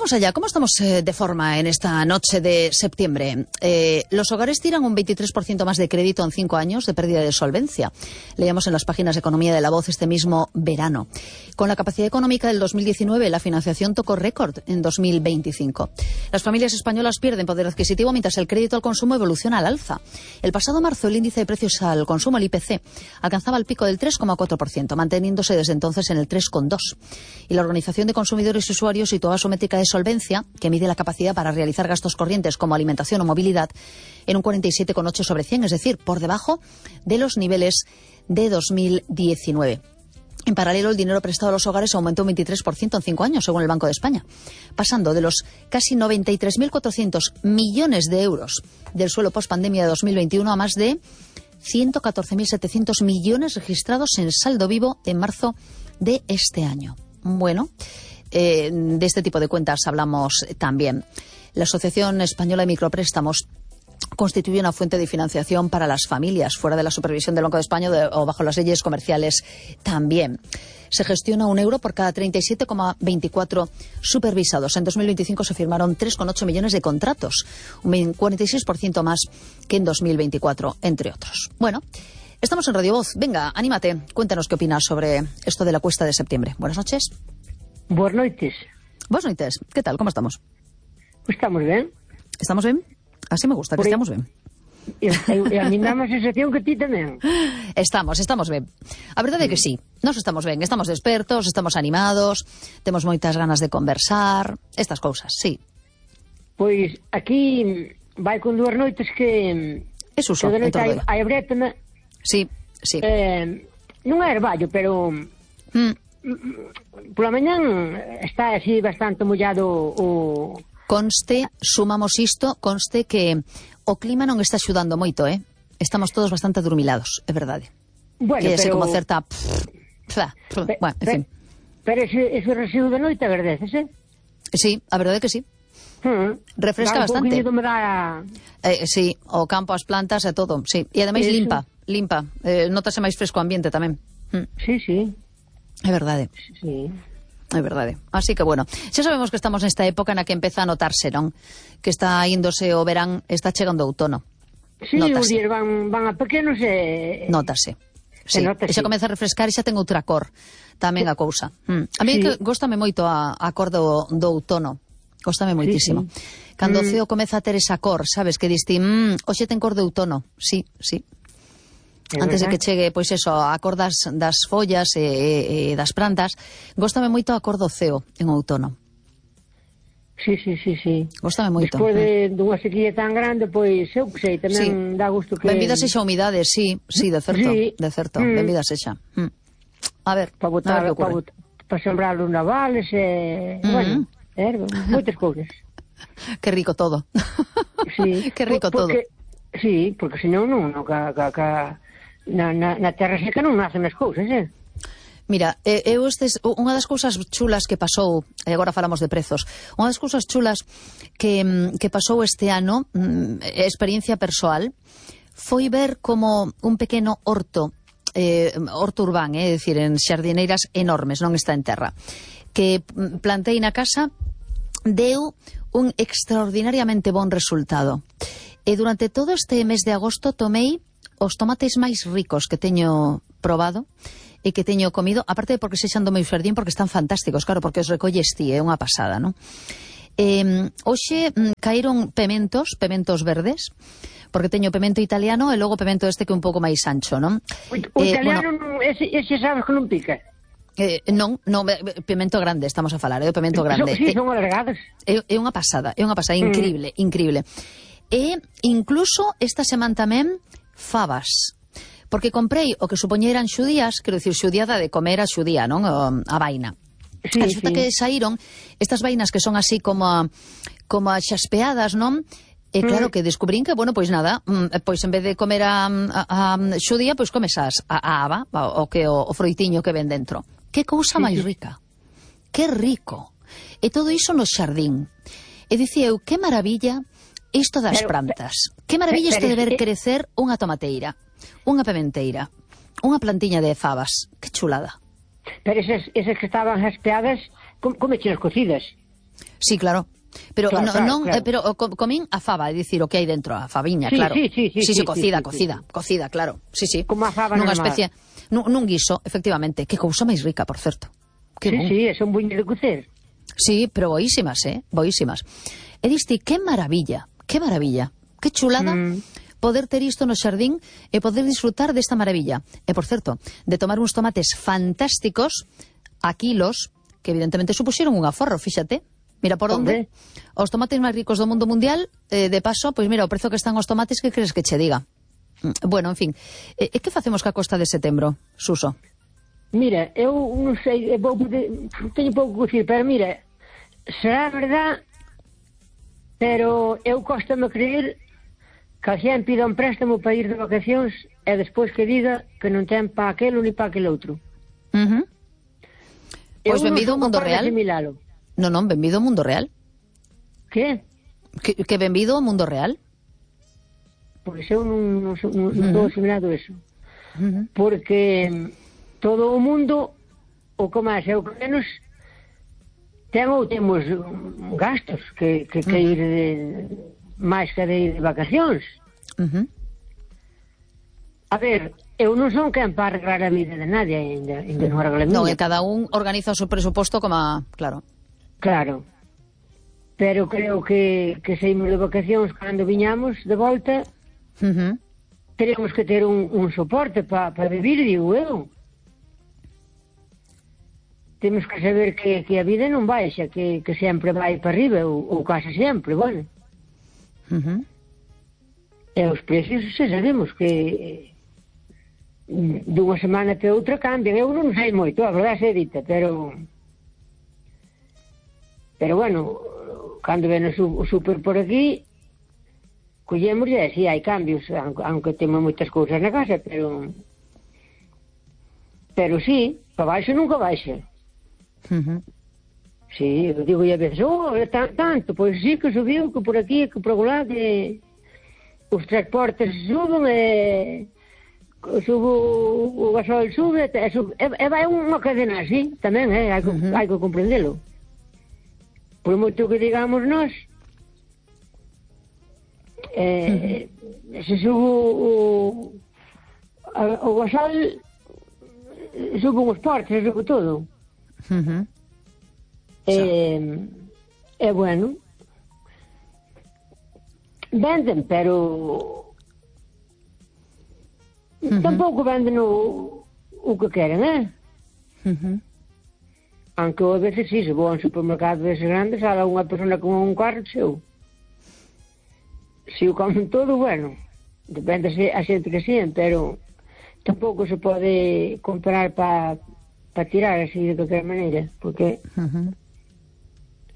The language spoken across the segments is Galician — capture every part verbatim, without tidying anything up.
Vamos allá, ¿cómo estamos eh, de forma en esta noche de septiembre? Eh, los hogares tiran un veintitrés por ciento más de crédito en cinco años de pérdida de solvencia. Leíamos en las páginas de Economía de La Voz este mismo verano. Con la capacidad económica del dos mil diecinueve, la financiación tocó récord en dos mil veinticinco. Las familias españolas pierden poder adquisitivo mientras el crédito al consumo evoluciona al alza. El pasado marzo, el índice de precios al consumo, el I P C, alcanzaba el pico del tres coma cuatro por ciento, manteniéndose desde entonces en el tres coma dos por ciento. Y la Organización de Consumidores y Usuarios situaba su métrica de solvencia, que mide la capacidad para realizar gastos corrientes como alimentación o movilidad, en un cuarenta y siete coma ocho sobre cien, es decir, por debajo de los niveles de dos mil diecinueve. En paralelo, el dinero prestado a los hogares aumentó un veintitrés por ciento en cinco años, según el Banco de España, pasando de los casi noventa y tres mil cuatrocientos millones de euros del suelo post-pandemia de dos mil veintiuno a más de ciento catorce mil setecientos millones registrados en saldo vivo en marzo de este año. Bueno, eh, de este tipo de cuentas hablamos también. La Asociación Española de Micropréstamos constituye una fuente de financiación para las familias, fuera de la supervisión del Banco de España de, o bajo las leyes comerciales también. Se gestiona un euro por cada treinta y siete coma veinticuatro supervisados. En dos mil veinticinco se firmaron tres coma ocho millones de contratos, un cuarenta y seis por ciento más que en dos mil veinticuatro, entre otros. Bueno, estamos en Radio Voz. Venga, anímate, cuéntanos qué opinas sobre esto de la cuesta de septiembre. Buenas noches. Buenas noches. Buenas noches. ¿Qué tal? ¿Cómo estamos? Pues estamos ben. ¿Estamos bien? Así me gusta, que estamos ben. E, e a mí dá má sensación que ti tamén. Estamos, estamos ben. A verdade é que sí, nós estamos ben, estamos despertos, estamos animados, temos moitas ganas de conversar, estas cousas, sí. Pois aquí vai con dúas noites que... Es uso, que de en todo noite hai brétena. Sí, sí. Eh, non é herballo, pero... Mm. Pola mañán está así bastante mollado o... Conste, sumamos isto, conste que o clima non está axudando moito, eh? Estamos todos bastante adormilados, é verdade. Bueno, que é pero... como certa... Pf, pf, Pe, bueno, en fin. Pero ese, ese residuo de noite agradecese? Sí, a verdade é que sí. Hmm. Refresca Dá un bastante. pouquinho de humedad. Eh, sí, o campo, as plantas e todo, sí. E ademais Eso. limpa, limpa. Eh, notase máis fresco o ambiente tamén. Mm. Sí, sí. É verdade. Sí. É verdade. Así que, bueno, xa sabemos que estamos nesta época na que empeza a notarse, non? Que está índose o verán, está chegando o outono. Sí, os días van, van a pequenos e... Notase. Sí, nota, e xa sí. comeza a refrescar e xa ten outra cor tamén a cousa. Mm. A mí Sí. que góstame moito a, a cor do, do outono. Góstame moitísimo. Sí, sí. Cando o Mm. ceo comeza a ter esa cor, sabes, que diste, mmm, hoxe ten cor de outono. Sí, sí. É Antes de verdad. que chegue, pois eso, a cor das, das follas e, e, e das plantas, góstame moito a cor do ceo en outono. Sí, sí, sí, sí. Góstame moito. Despois de, dunha sequía tan grande, pois, eu que sei, tamén Sí. dá gusto que... Benvida sexa a humidade, sí, sí, de certo, Sí. de certo, Mm. benvida sexa. Mm. A ver, Para a botar, ver que para, ocurre. bot, para sembrar os navales, e... Mm. Bueno, eh, moitas cousas. Que rico todo. Sí. Que rico Por- porque, todo. Sí, porque senón non, non ca, ca, ca, na, na, na terra seca non nacen as cousas, eh? Mira, eh, eu estes, unha das cousas chulas que pasou, e agora falamos de prezos, unha das cousas chulas que, mm, que pasou este ano, mm, experiencia persoal, foi ver como un pequeno horto, eh, horto urbán, é eh, dicir, en xardineiras enormes, non está en terra, que mm, plantei na casa, deu un extraordinariamente bon resultado. E durante todo este mes de agosto tomei os tomates máis ricos que teño probado e que teño comido, aparte de porque sexan do meu xardín, porque están fantásticos, claro, porque os recolles ti, é unha pasada, non? Eh, hoxe mm, caíron pementos, pementos verdes, porque teño pemento italiano e logo pemento este que é un pouco máis ancho, non? O, o Eh, italiano, bueno, non, ese, ese sabes que non pica. Eh, non, non, eh, pemento grande, estamos a falar, é o pemento grande. Son, sí, Eh, son alargados. É, é unha pasada, é unha pasada, increíble, mm. increíble. E incluso esta semana tamén fabas, porque comprei o que supoña eran xudías, quero dicir, xudiada de comer a xudía, non? O, a vaina. Sí, Resulta sí. que saíron estas vainas que son así como a, como a xaspeadas, non? E claro que descubrín que, bueno, pois nada, pois en vez de comer a, a, a xudía, pois comes as, a, a aba, o que o, o froitiño que ven dentro. Que cousa Sí, máis sí. rica. Que rico. E todo iso no xardín. E dicía eu, que maravilla isto das Pero, plantas. Que maravilla isto de pero, ver eh, crecer unha tomateira, unha pementeira, unha plantiña de fabas. Que chulada. Pero esas, esas que estaban jaspeadas, como, como chinas cocidas. Sí, claro. Pero Claro, no, claro, non, claro. eh, pero o, co- comín a fava, é dicir, o que hai dentro, a faviña, Sí, claro. sí, sí, sí, sí, sí, cocida, sí, sí, cocida, sí. cocida, claro. Sí, sí. Como a fava Nunha normal. especie, nun, nun guiso, efectivamente. Que cousa máis rica, por certo. Que Sí, bon. sí, son buñas de cocer. Sí, pero boísimas, eh? Boísimas. E diste, que maravilla, que maravilla, que chulada Mm. poder ter isto no xardín e poder disfrutar desta maravilla. E, por certo, de tomar uns tomates fantásticos a kilos, que evidentemente supuxeron un aforro, fíxate. Mira por onde. Hombre. Os tomates máis ricos do mundo mundial, eh, de paso, pois mira, o prezo que están os tomates, que crees que che diga? Mm, Bueno, en fin, e, e que facemos ca costa de setembro, Suso? Mira, eu non sei, eu vou poder, teño pouco que dicir, pero mira, será verdad, pero eu cóstame creer que a xente pida un préstamo para ir de vacacións e despois que diga que non ten pa aquelo ni pa aquel outro. Uh -huh. Pois Eu non benvido ao son mundo capaz de real. asimilalo. Non, non, benvido ao mundo real. Que? Que, que benvido ao mundo real. Pois eu non, non, son- non, non estou asimilado eso. Uh -huh. Porque mm, todo o mundo, o que máis é o que menos, ten ou temos mm, gastos que, que, que ir de, máis que de ir de vacacións. Uh -huh. A ver, eu non son quen para arreglar a vida de nadie, ainda, ainda non arregla a Non, miña. e cada un organiza o seu presuposto como a... Claro. Claro. Pero creo que, que saímos de vacacións cando viñamos de volta, Uh -huh. teremos que ter un, un soporte para pa vivir, digo eu. Temos que saber que, que a vida non baixa, que, que sempre vai para arriba, ou, ou case sempre, bueno. Uh -huh. E os precios xa sabemos que mm, dunha semana para outra cambian. Eu non sei moito, a verdade se dita, pero pero bueno, cando ven o, su, o super por aquí, collemos e si hai cambios, aunque, aunque temos moitas cousas na casa, pero pero sí, para baixo nunca baixa. Uh -huh. Sí, eu digo a veces, oh, é tan, tanto, pois sí que subiu, que por aquí, que por lá, que os transportes suben e subo o gasol sube, e, sube, e, e vai unha cadena así, tamén, eh, hai, que, Uh-huh. hai que comprendelo. Por moito que digamos nós, eh, uh-huh. se subo o, a, o gasol, suben os portos, sube todo. Uh -huh. Eh, é bueno, venden, pero uh -huh. tampouco venden o, o que queren, eh? Uh -huh. Aunque a veces sí, se vou a un supermercado desses grandes, há unha persona con un carro seu. Se o comen todo, bueno, depende a xente que sean, pero tampouco se pode comprar para pa tirar así de qualquer maneira, porque Uh -huh.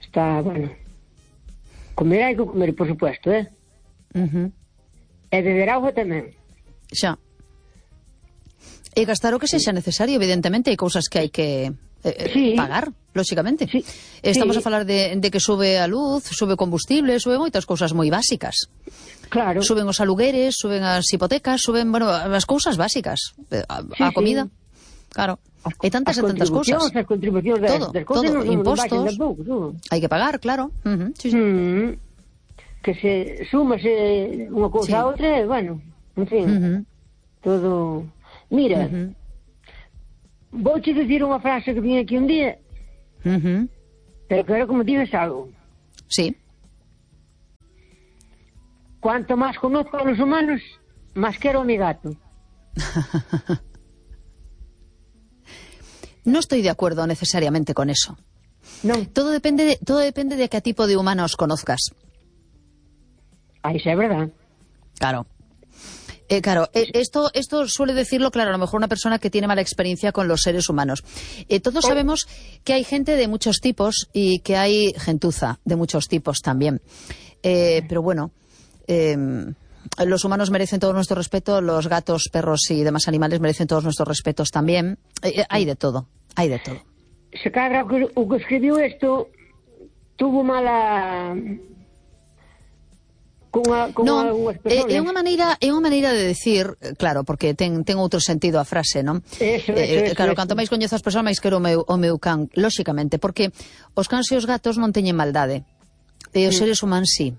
está, bueno, comer hai que comer, por supuesto, eh? Uh -huh. E beber auga tamén. Xa. E gastar o que sexa necesario, evidentemente, hai cousas que hai que eh, Sí. pagar, lóxicamente. Sí. Estamos Sí. a falar de, de que sube a luz, sube combustible, sube moitas cousas moi básicas. Claro. Suben os alugueres, suben as hipotecas, suben, bueno, as cousas básicas. eh, A, Sí, a sí. comida. Claro. E tantas e tantas cousas. As contribucións das, Todo, das cousas todo, non, non impostos. baixan tampouco, todo. Hai que pagar, claro. Uh -huh. Sí, sí. Mm, que se súmase unha cousa Sí. a outra, e, bueno, en fin, Uh -huh. todo... Mira, Uh -huh. vouche dicir unha frase que vim aquí un día, Uh -huh. pero quero que me digas algo. Sí. Cuanto máis conozco a los humanos, máis quero a mi gato. No estoy de acuerdo necesariamente con eso. Non, Todo depende de, todo depende de qué tipo de humanos conozcas. aí xa é verdad. Claro. Eh, claro, eh, esto, esto suele decirlo, claro, a lo mejor una persona que tiene mala experiencia con los seres humanos. Eh, todos sabemos que hay gente de muchos tipos y que hay gentuza de muchos tipos también. Eh, pero bueno, eh, los humanos merecen todo nuestro respeto, los gatos, perros y demás animales merecen todos nuestros respetos también. Eh, eh, hay de todo, hay de todo. Se cadra o que, o que escribiu isto tuvo mala cunha, cunha non, algunhas é, persoas. é unha maneira, é unha maneira de decir, claro, porque ten, ten outro sentido a frase, non? Eso, eso, eh, eso, claro, eso. canto máis coñezo as persoas, máis quero o meu, o meu can, lóxicamente, porque os cans e os gatos non teñen maldade, e os Sí. seres humanos sí.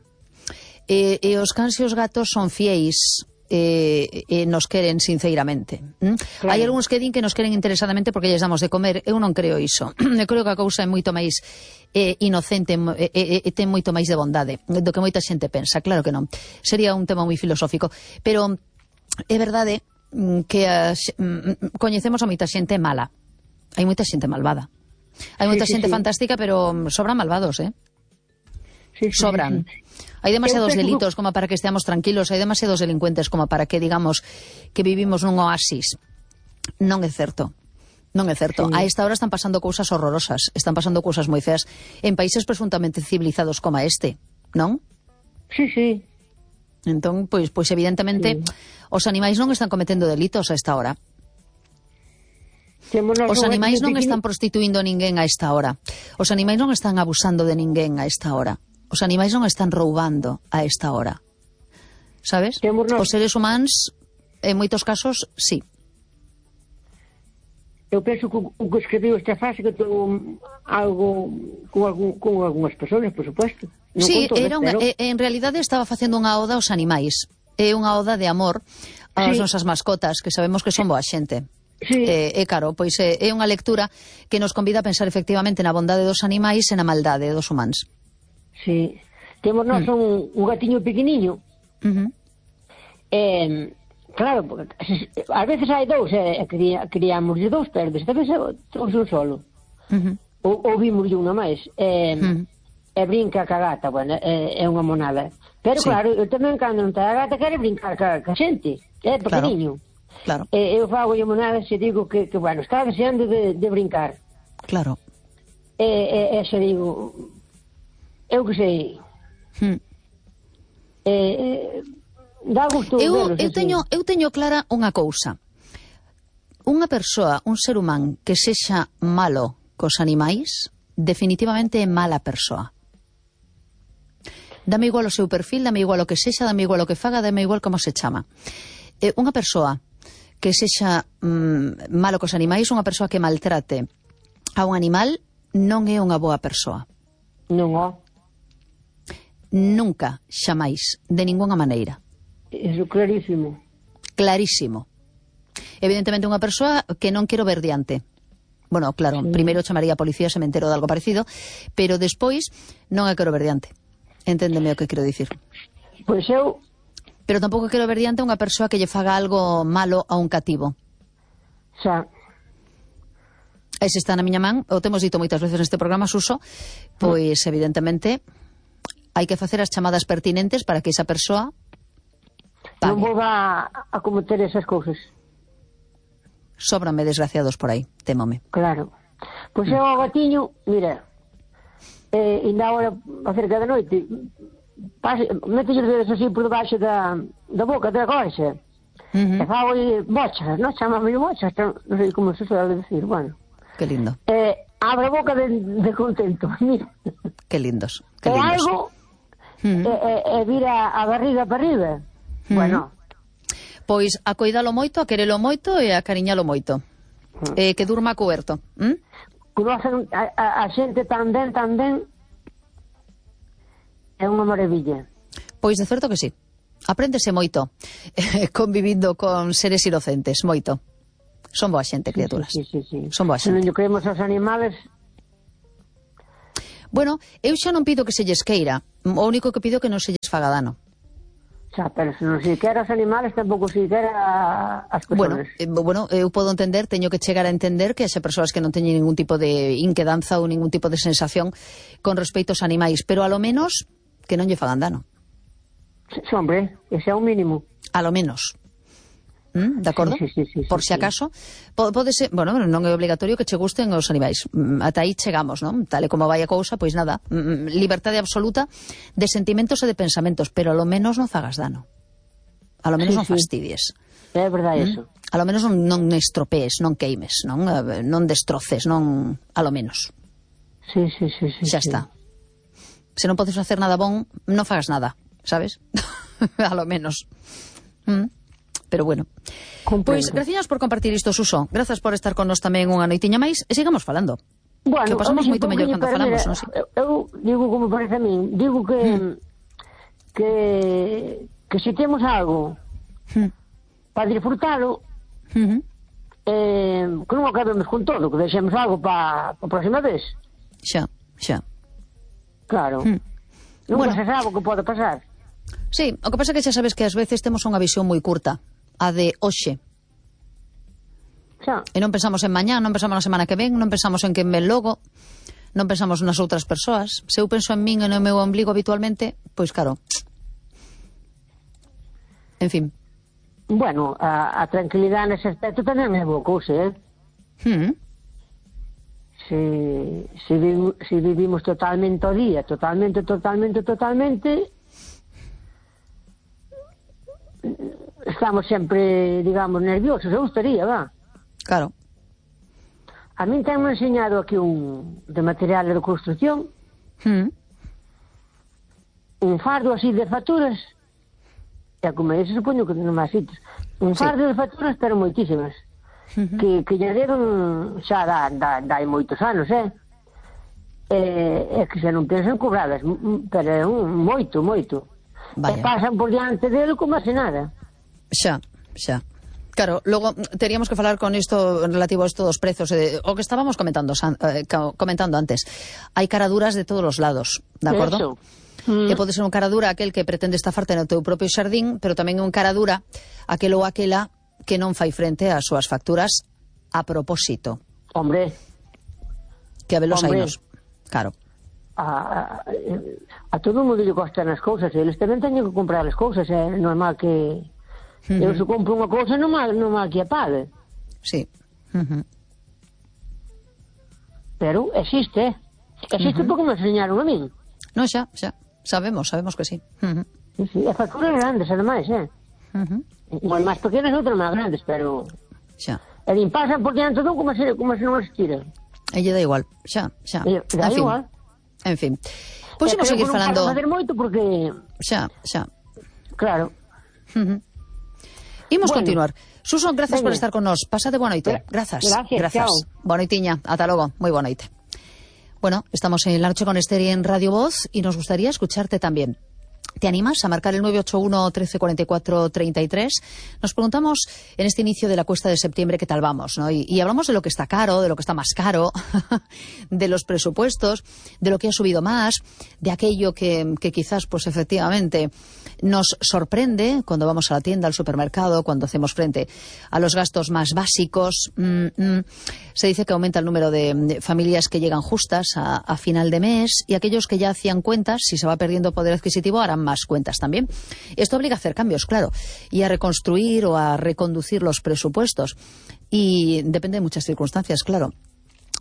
E, e os cans e os gatos son fiéis, e, e nos queren sinceiramente. ¿Mm? Claro. Hai algúns que din que nos queren interesadamente porque lles damos de comer. Eu non creo iso. Eu creo que a cousa é moito máis eh, inocente e, e, e ten moito máis de bondade do que moita xente pensa. Claro que non. Sería un tema moi filosófico. Pero é verdade que a, coñecemos a moita xente mala. Hai moita xente malvada. Hai moita Sí, sí, xente sí. fantástica, pero sobran malvados, eh? Sí, sí, Sobran. sí, sí. Hai demasiados Eu penso que- delitos como para que esteamos tranquilos, hai demasiados delincuentes como para que digamos que vivimos nun oasis. Non é certo. Non é certo. Sí. A esta hora están pasando cousas horrorosas, están pasando cousas moi feas en países presuntamente civilizados como este, non? Sí, sí. Entón, pois, pois evidentemente, Sí. os animais non están cometendo delitos a esta hora. Temos Os animais non están por... prostituindo ninguén a esta hora. Os animais non están abusando de ninguén a esta hora. Os animais non están roubando a esta hora. Sabes? Temos nós- Os seres humanos, en moitos casos, sí. Eu penso que o o que escribiu esta frase que ten algo con, algún, con algunhas persoas, por supuesto. Non Sí, con todas, era unha, pero... e- en realidade estaba facendo unha oda aos animais. É unha oda de amor ás Sí. nosas mascotas, que sabemos que son boa xente. Sí. E, e claro, pois é, é unha lectura que nos convida a pensar efectivamente na bondade dos animais e na maldade dos humanos. Sí. Temos nós Mm. un, un gatiño pequeniño. Uh -huh. Eh, claro, porque, ás veces hai dous, e eh, cría, criamos de dous, pero desta vez todos un solo. Uh -huh. Ou, ou vimos de unha máis. Eh, Mm. E brinca ca gata, bueno, é, é unha monada. Pero Sí. claro, eu tamén cando non está a gata quere brincar ca, ca xente. É pequeniño. Claro, E eu fago lle monadas e digo que, que bueno, está deseando de, de brincar. claro. E, e, e se digo, eu que sei, Hmm. e, e, dá gusto Eu, velos, eu, así. teño, eu teño clara unha cousa. Unha persoa, un ser humano que sexa malo cos animais, definitivamente é mala persoa. Dame igual o seu perfil, dame igual o que sexa, dame igual o que faga, dame igual como se chama. Eh, unha persoa que sexa mm, malo cos animais, unha persoa que maltrate a un animal, non é unha boa persoa. Non, ó, Nunca, xamais, de ninguna maneira. iso clarísimo. Clarísimo. Evidentemente unha persoa que non quero ver diante. Bueno, claro, sí. Primeiro chamaría a policía se me entero de algo parecido, pero despois non a quero ver diante. Enténdeme o que quero dicir. Pois eu, Pero tampouco quero ver diante unha persoa que lle faga algo malo a un cativo. xa, E se está na miña man, o temos dito moitas veces neste programa, Suso, pois evidentemente hai que facer as chamadas pertinentes para que esa persoa non pague. volva a, a cometer esas cousas. Sóbranme desgraciados por aí, témome. Claro. Pois eu ao gatiño, mira, eh, ainda agora acerca da noite, mete os dedos así por debaixo da, da boca, da gorxa, Uh -huh. e fago bochas, non? Chamame bochas, non sei como se suele decir, bueno. Que lindo, Eh, abre a boca de, de contento, mira. que lindos, que E lindos. algo, Uh -huh. e, e, e vira a barriga para arriba. Mm. Bueno, Pois a coidalo moito, a querelo moito e a cariñalo moito. Eh, que durma coberto. ¿Mm? conocen a, a, a xente tan ben, tan ben, é unha maravilla. Pois de certo que sí. Apréndese moito eh, convivindo con seres inocentes, moito. Son boa xente, criaturas. Sí, sí, sí, sí. Son boa Se non xente. lle creemos aos animales, Bueno, eu xa non pido que se lles queira. O único que pido é que non se lles faga dano. xa, pero se non se quera aos animales, tampouco se quera as Bueno, persoas. eh, bueno, eu podo entender, teño que chegar a entender que haxe persoas que non teñen ningún tipo de inquedanza ou ningún tipo de sensación con respecto aos animais, pero a lo menos que non lle fagan dano. Sí, hombre, ese é o mínimo. A lo menos. ¿Mm? De acordo? Sí, sí, sí, sí, Por si sí. acaso, po- pode ser, bueno, non é obligatorio que che gusten os animais. Mm, Ata aí chegamos, non? Tal e como vai a cousa, pois nada, mm, libertade absoluta de sentimentos e de pensamentos, pero a lo menos non fagas dano. A lo menos Sí, non sí. fastidies. É verdade eso. A lo menos non, non estropees, non queimes, non, Eh, non destroces, non, a lo menos. Sí, sí, sí, sí. Xa sí. está. Se non podes facer nada bon, non fagas nada, sabes? a lo menos. Mm. Pero bueno. Pois, gracias por compartir isto, Suso. Grazas por estar con nos tamén unha noitiña máis e sigamos falando. Bueno, que pasamos moito mellor cando falamos, non sei. Eu digo como parece a min, digo que mm. que que se temos algo mm. para disfrutalo, mm-hmm. eh, que non acabemos con todo, que deixemos algo para a próxima vez. Xa, xa. Claro. Mm. Nunca bueno. se sabe o que pode pasar. Sí, o que pasa é que xa sabes que ás veces temos unha visión moi curta, a de hoxe. Xa. E non pensamos en mañá, non pensamos na semana que ven, non pensamos en quen ven logo, non pensamos nas outras persoas. Se eu penso en min e no meu ombligo habitualmente, pois claro. En fin. Bueno, a, a tranquilidade nese aspecto tamén é boa cousa, eh? Hmm. Si, si, vi, si vivimos totalmente ao día, totalmente, totalmente, totalmente, estamos sempre, digamos, nerviosos, eu estaría, va. Claro. A min tenme enseñado aquí un de material de construcción, hmm. un fardo así de facturas, e como ese supoño que non máis sitios, un fardo sí. de facturas, pero moitísimas. Uh-huh. que, que lle deron xa da, da, da hai moitos anos, eh? E, e que xa non pensan cobradas, pero é un moito, moito. Vaya. E pasan por diante dele como se nada. Xa, xa. Claro, logo teríamos que falar con isto relativo a isto dos prezos, eh, o que estábamos comentando eh, comentando antes. Hai caraduras de todos os lados, de acordo? Mm. E pode ser un caradura aquel que pretende estafarte no teu propio xardín, pero tamén un caradura aquel ou aquela que non fai frente ás súas facturas a propósito. Hombre. Que a velos ainos. Claro. A, a, a todo mundo lle costan as cousas, eles tamén teñen que comprar as cousas, é normal que uh-huh. eu se compro unha cousa non mal, non mal que a pague. Sí. Uh-huh. Pero existe, existe uh-huh. porque me enseñaron a min. Non, xa, xa, sabemos, sabemos que sí. Uh-huh. Sí, sí, as facturas grandes, ademais, eh? Uh-huh. Igual máis pequenas, outras máis grandes, pero... Xa. E din, pasan por diante todo como se, como se non existira. E lle dá igual, xa, xa. E dá en fin. igual. En fin. Pois imos seguir falando... Non facer moito porque... Xa, xa. Claro. Uh-huh. Imos bueno. continuar. Suso, grazas Venga. por estar con nos. Pásate boa noite. Grazas. Gracias, grazas. chao. Boa noitiña. Ata logo. Moi boa noite. Bueno, estamos en La Noche con Esther y en Radio Voz y nos gustaría escucharte también. ¿Te animas a marcar el nueve ocho uno, trece cuarenta y cuatro, treinta y tres? Nos preguntamos en este inicio de la cuesta de septiembre qué tal vamos, ¿no? Y, y hablamos de lo que está caro, de lo que está más caro, de los presupuestos, de lo que ha subido más, de aquello que, que quizás, pues efectivamente, nos sorprende cuando vamos a la tienda, al supermercado, cuando hacemos frente a los gastos más básicos. Mm, mm. Se dice que aumenta el número de, de familias que llegan justas a, a final de mes y aquellos que ya hacían cuentas, si se va perdiendo poder adquisitivo, harán más cuentas también. Esto obliga a hacer cambios, claro, y a reconstruir o a reconducir los presupuestos. Y depende de muchas circunstancias, claro,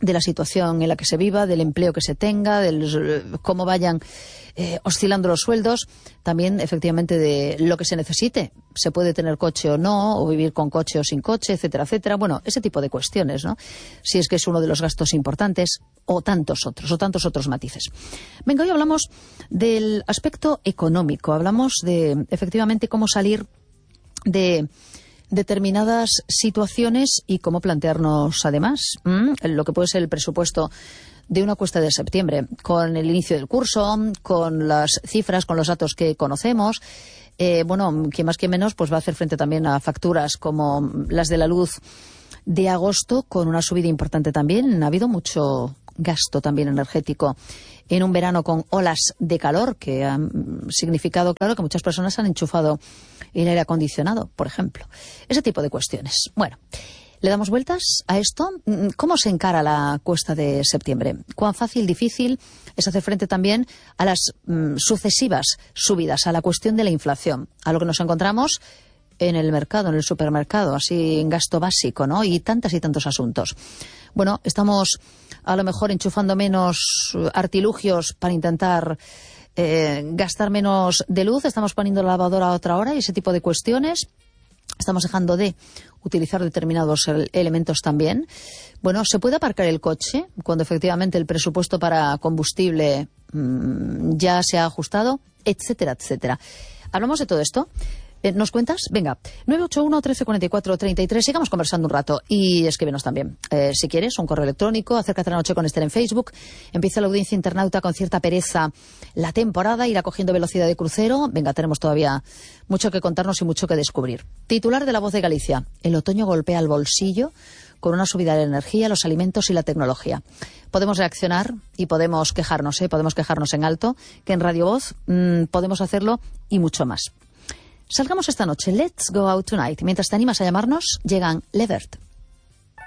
de la situación en la que se viva, del empleo que se tenga, de cómo vayan eh, oscilando los sueldos, también efectivamente de lo que se necesite. Se puede tener coche o no, o vivir con coche o sin coche, etcétera, etcétera. Bueno, ese tipo de cuestiones, ¿no? Si es que es uno de los gastos importantes, o tantos otros, o tantos otros matices. Venga, hoy hablamos del aspecto económico, hablamos de efectivamente cómo salir de determinadas situaciones y cómo plantearnos además ¿m? lo que puede ser el presupuesto de una cuesta de septiembre, con el inicio del curso, con las cifras, con los datos que conocemos. Eh, bueno, quien más que menos pues va a hacer frente también a facturas como las de la luz de agosto, con una subida importante también. Ha habido mucho gasto también energético en un verano con olas de calor que han significado, claro, que muchas personas han enchufado el aire acondicionado, por ejemplo. Ese tipo de cuestiones. Bueno, ¿le damos vueltas a esto? ¿Cómo se encara la cuesta de septiembre? ¿Cuán fácil, difícil es hacer frente también a las mm, sucesivas subidas, a la cuestión de la inflación, a lo que nos encontramos en el mercado, en el supermercado, así en gasto básico, ¿no? Y tantas y tantos asuntos. Bueno, estamos a lo mejor enchufando menos artilugios para intentar eh, gastar menos de luz, estamos poniendo la lavadora a otra hora y ese tipo de cuestiones. Estamos dejando de utilizar determinados elementos también. Bueno, ¿se puede aparcar el coche cuando efectivamente el presupuesto para combustible mmm, ya se ha ajustado? Etcétera, etcétera. Hablamos de todo esto. Eh, ¿Nos cuentas? Venga, nueve ocho uno, trece cuarenta y cuatro, treinta y tres. Sigamos conversando un rato y escríbenos también. Eh, si quieres, un correo electrónico, acércate a la noche con Esther en Facebook. Empieza la audiencia internauta con cierta pereza la temporada, irá cogiendo velocidad de crucero. Venga, tenemos todavía mucho que contarnos y mucho que descubrir. Titular de La Voz de Galicia. El otoño golpea el bolsillo con una subida de la energía, los alimentos y la tecnología. Podemos reaccionar y podemos quejarnos, ¿eh? Podemos quejarnos en alto, que en Radio Voz mmm, podemos hacerlo y mucho más. Salgamos esta noche. Let's go out tonight. Mientras te animas a llamarnos, llegan Levert.